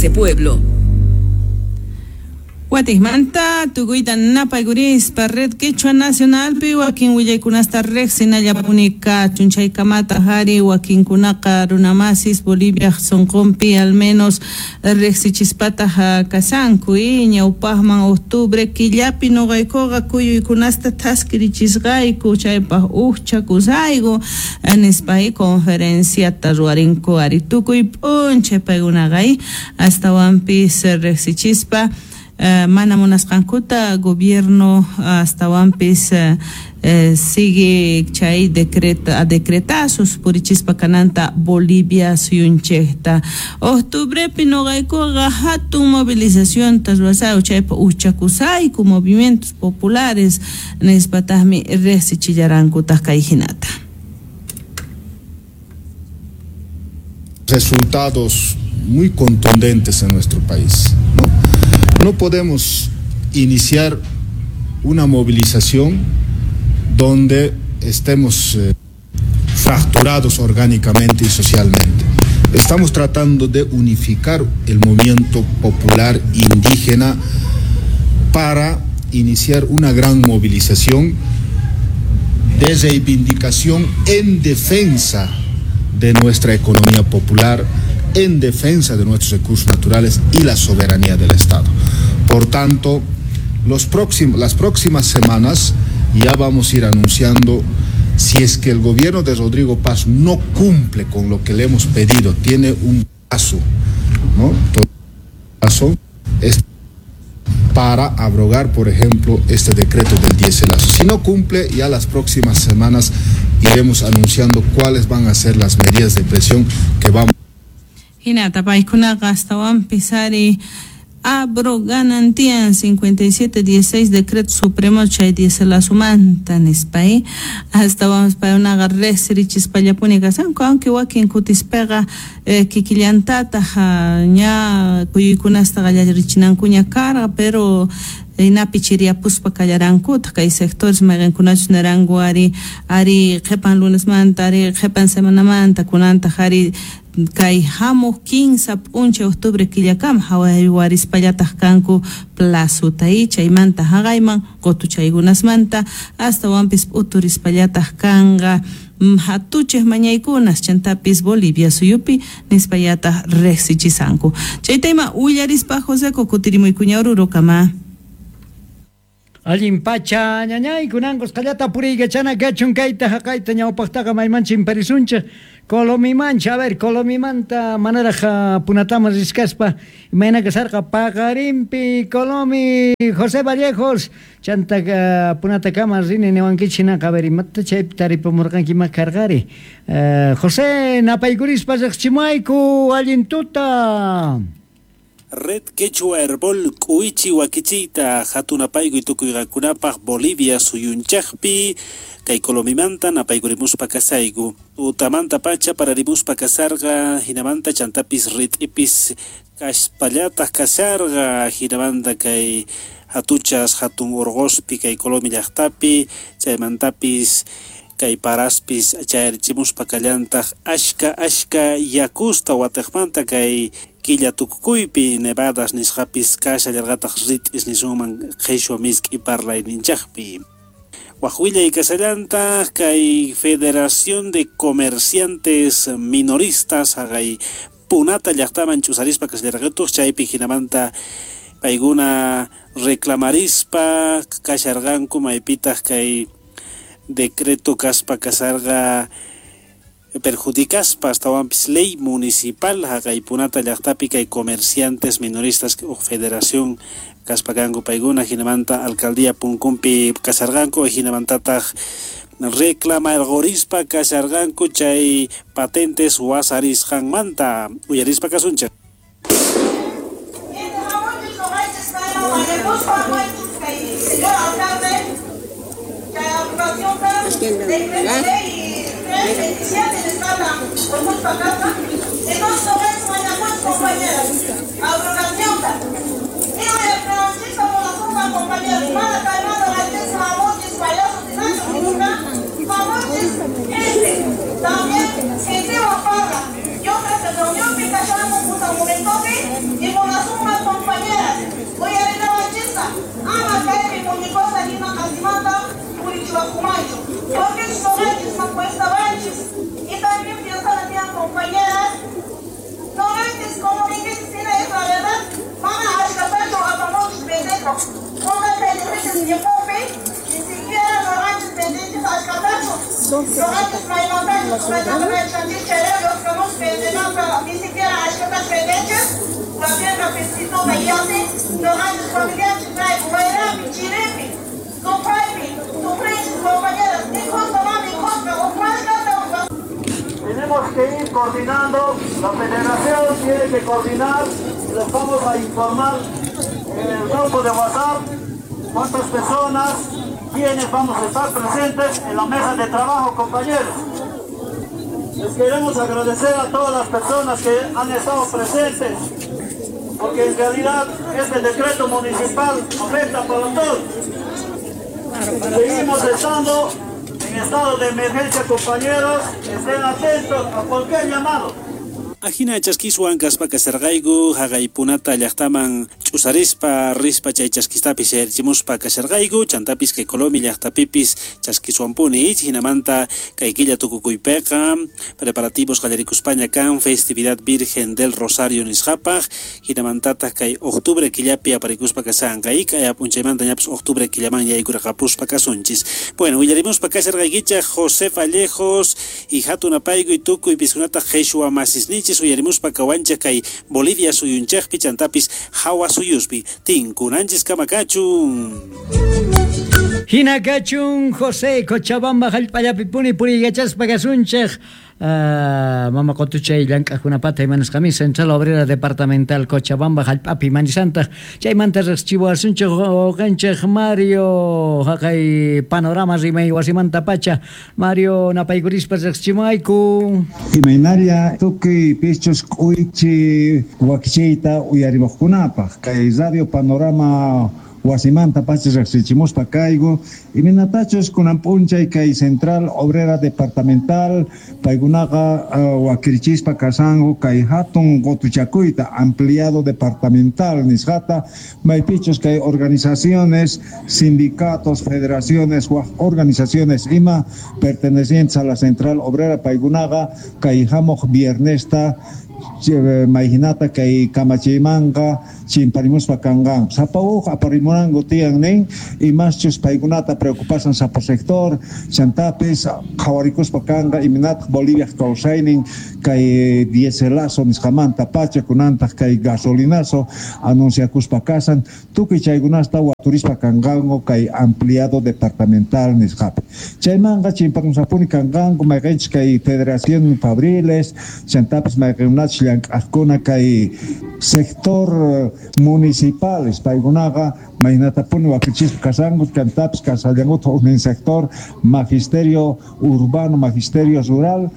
Hace pueblo. Watikmanta tukuyta napaykurispa Red Quechua Nacionalpi wakin willaykunasta riqsinallapuni kachun chaykamata hari wakinkunaqa runamasis Bolivia sunqunpi al menos riqsichispataq kasanku ñawpaqman octubre killapi nuqaykuqa kuyuykunasta thaskirichisqayku chaypaq uqchakusayku nispa conferenciata ruwarinku ari tukuy p'unchay paykunaqa astawanpis riqsichispa mana munasqankuta gobierno astawanpis sigue chay decretazos purichispa kananta Bolivia suyunchikta octubrepi nuqaykuqa hatun movilizacionta ruwasayku chaypa uchakusayku movimientos populares nispataqmi riqsichillarankutaq kay hinata. Resultados muy contundentes en nuestro país, ¿no? No podemos iniciar una movilización donde estemos fracturados orgánicamente y socialmente. Estamos tratando de unificar el movimiento popular indígena para iniciar una gran movilización de reivindicación en defensa de nuestra economía popular, en defensa de nuestros recursos naturales y la soberanía del Estado. Por tanto, las próximas semanas ya vamos a ir anunciando si es que el gobierno de Rodrigo Paz no cumple con lo que le hemos pedido, tiene un plazo, ¿no? Plazo es para abrogar, por ejemplo, este decreto del dieselazo. Si no cumple, ya las próximas semanas iremos anunciando cuáles van a ser las medidas de presión que vamos. Hinata paykunaqa astawanpis ari abroganan tiyan 5716 decreto supremo chay dieselazumanta nispa astawanpis paykunaqa riqsirichispallapuni kasanku aunque wakin kutispaqa kikillantataq ña kuyuykunasta qallarichinankuña karqa pero inapi chiriyapuspa kallarankutaq kay sectores mayqinkunachus naranku ari ari qhipan lunesmanta ari qhipan semanamanta kunantaq ari kay hamuq 15 p'unchay octubre killakama hawarispallataq kanku plazota chaymanta haqayman qutuchaykunasmanta astawanpis p'uturispallataq kanqa hatuchej mañaykunas chantapis Bolivia suyupi nispallataq riqsichisanku. Chayta ima willarispa Joseco kutirimuykuña Orurokama. Allin pacha ñañay kunankos qallata puriykachana kachun kayta haqayta ñawpaqtaqa maymancha imparisunchik Colomimancha, a ver, Colomimanta manaraj punatama riskaspa imayna kasarqa paqarinpi Colomi José Vallejos chanta punatakama rini niwankichik hinaqa a ver imata chaypi taripamurqanki ima karqari José napaykurispa riqchimayku allin tuta. Red Quechua Herbol k'uichi wakichiyta hatunapaykuy tukuyqakunapaq Bolivia suyunchaqpi kay Colomimanta napaykurimuspa kasayku utamanta pacha pararimuspa kasarqa hinamanta chantapis rit'ipis kaspallataq kasarqa hinamanta kay hatuchas hatun urquspi kay Colomi llaqtapi chaymantapis kay paraspis chayarichimuspa kallantaq ashka ashka yakusta watiqmanta kay killa tukukuypi nevadas nisqapis kashallarqataq rit'is nisunman qhishwa misk'i parlayninchaqpi. Waj willay kasallantaq kay Federación de Comerciantes Minoristas haqay Punata llaqtaman ch'usarispa kashallarqatuq chaypi hinamanta paykuna reclamarispa kasharqanku maypitaq kay decreto kaspa kasarqa perjudicaspa astawanpis ley municipal haqay Punata llaqtapi kay comerciantes minoristas o federación kaspakanku paykuna hinamanta alcaldía punkunpi kasarqanku hinamantataq reclamarqorispa kasharqanku chay patentes wasarisqanmanta uyarispa kasunchik. También, Aywakumanchu, porque noqanchis makuestawanchis. Y también piensan tienen compañeras, noqanchis como dijiste, sina es la verdad, mana ashkatachu apamunchis vendeco. Una que tiempopi, ni siquiera noqanchis vendenchis ashkatachu. Noqanchis maymantachis, maymantachis, chayrayku vendenanpa, ni siquiera ashkatachu vendenchis. También la pesquisoma y así, noqanchis familianchis traigo, wayrapi, chiripi, sufraypi, sufrinchis compañeras, ni justo mami, justo, Tenemos que ir coordinando, la federación tiene que coordinar, les vamos a informar en el grupo de WhatsApp cuántas personas, quiénes vamos a estar presentes en la mesa de trabajo, compañeros. Les queremos agradecer a todas las personas que han estado presentes, porque en realidad este decreto municipal afecta para todos. Seguimos estando en estado de emergencia, compañeros, estén atentos a cualquier llamado. Ajina chaskiswan kaspa kasharqayku haqaypunata llaqtaman ch'usarispa rispa chay chaskistapis yayrichimuspa kasharqayku chantapis kay Colomi llaqtapipis chaskiswanpuni hinamanta kay killa tukukuypiqa preparativos qallarikuspaña kan festividad Virgen del Rosario nisqapaq hinamantataq kay octubre killapi aparikuspa kashanqa y kay p'unchaymanta ñapis octubre killaman yaykurqapuspa kasunchis. Bueno, willarimuspa kasharqaykichaq José Vallejos y hatun apayku y tukuy piskunataq qhishwa masisninchis uyarimuspa kawanchaq kay Bolivia suyunchaqpi chantapis hawa suyuspi tinkunanchis kamakachun. Hina kachun José Cochabamba hallp'allapi puni puriyachaspa kasunchaq mama qotuchay llank'aqkunapata imanasqami Central Obrera Departamental Cochabamba hallp'api manisantaq chaymanta riqsichiwasunchaq wawqinchaq Mario haqay panorama rimay wasimanta pacha Mario napaykurispa riqsichimuayku. Imaynalla tukuy pichus k'uychi wakichiyta uyarimuqkunapaq kay Radio Panorama wasimanta pacha riqsichimuspa kayku imaynatachus kunan p'unchay kay Central Obrera Departamental paykunaqa wakirichispa kasanku kay hatun qotuchakuyta ampliado departamental nisqata maypichus kay organizaciones, sindicatos, federaciones waj organizaciones ima pertenecientes a la Central Obrera paykunaqa kay hamuq viernesta mayhinata kay kamachiymanqa chimparimuspa kanqanku sapa uj aparimunanku tiyan nin imaschus paykunata preocupasan sapa sector chantapis qhawarikuspa kanqa imaynataq Boliviaq kawsaynin kay dieselazo nisqamanta pacha kunantaq kay gasolinazo anunciakuspa kasan tukuy chaykunasta waturispa kanqanku kay ampliado departamental nisqapi chaymanqa chimparimusapuni kanqanku mayqinchis kay Federación Fabriles chantapis mayqinkunachus llank'aqkuna kay sector municipales paykunaqa maynatapuni wakichispa kasanku chantapis kasallankuta huknin sector magisterio urbano, magisterio rural,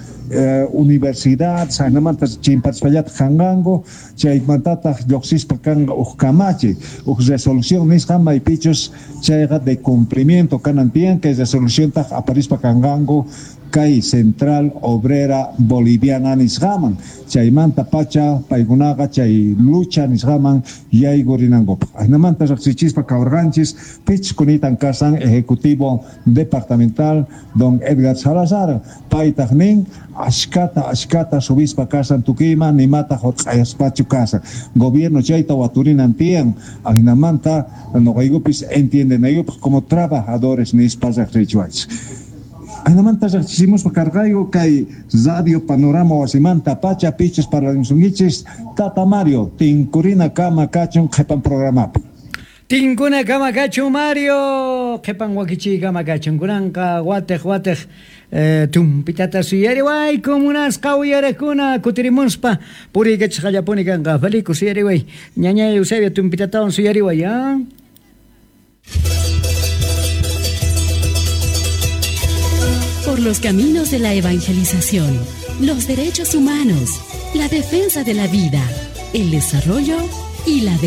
universidad saynamanta chimpachispallataq kanqanku chaymantataq lluqsispa kanqa huk kamachi huk resolución nisqa maypichus chayqa de cumplimiento kanan tiyan kay resoluciontaq aparispa kanqanku kay Central Obrera Boliviana nisqaman chaymanta pacha paykunaqa chay lucha nisqaman yaykurinankupaq ajinamanta riqsichispa kawrqanchis pichkunitan kasan ejecutivo departamental don Edgar Salazar paytaq nin ashkata subispa kasan tukuyman nimata hurq'ayaspachu kasan gobierno chayta waturinan tiyan ajinamanta noqaykupis entiendenaykupaq como trabajadores nispa riqsichiwanchis. Ajinamanta riqsichimuspa karqayku kay Radio Panorama wasimanta pacha pichus parlarimusunkichis Tata Mario tinkurina kama kachun qhipan programapi. Tinkuna kama kachun Mario qhipan wakichiy kama kachun kunanqa wateq tumpitata suyariwayku munasqa uyarakuna kutirimuspa puriykachisqallapuni kanqa Felico suyariway ñañay Eusebio tumpitatawan suyariway ¿ah? Por los caminos de la evangelización, los derechos humanos, la defensa de la vida, el desarrollo y la